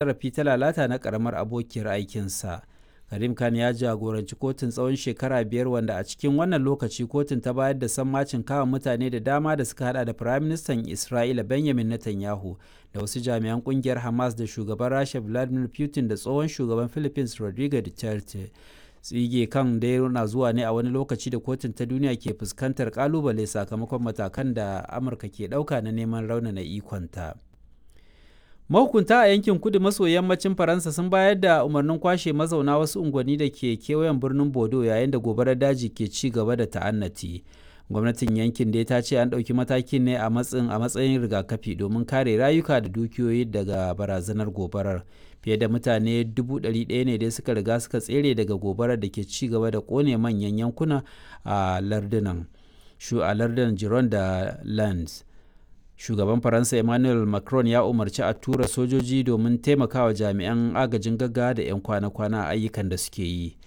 Zarafi ta lalata na ƙaramar abokiyar aikinsa. Karim Khan ya jagoranci kotun tsawon shekaru 5 wanda a cikin wannan lokaci kotun ta bayar da sammacin kama mutane da dama da suka hada da Firaministan Isra'ila Benjamin Netanyahu da wasu jami'an kungiyar Hamas da shugaban Rasha Vladimir Putin da tsohon shugaban Philippines Rodrigo Duterte. Tsige Khan dai na zuwa ne a wani lokaci da kotun ta duniya ke fuskantar kalubale sakamakon matakan da Amurka ke ɗauka na neman raunana ikonta. Mahukunta a yankin kudu maso yammacin Faransa sun bayar da umarnin kwashe mazauna wasu unguwanni da ke kewayen birnin Bordeaux yayin da gobarar daji ke ci gaba da ta'annati. Gwamnatin yankin dai ta ce an ɗauki matakin ne a matsayin rigakafi domin kare rayuka da dukiyoyi daga barazanar gobarar. Fiye da mutane 100,000 ne dai suka riga suka tsere daga gobarar da ke ci gaba da kone manyan yankuna a lardunan Gironde da Landes. Shugaban Faransa Emmanuel Macron ya umarci a tura sojoji domin taimakawa jami'an agajin gaggawa da 'yan kwana-kwana a ayyukan da suke yi.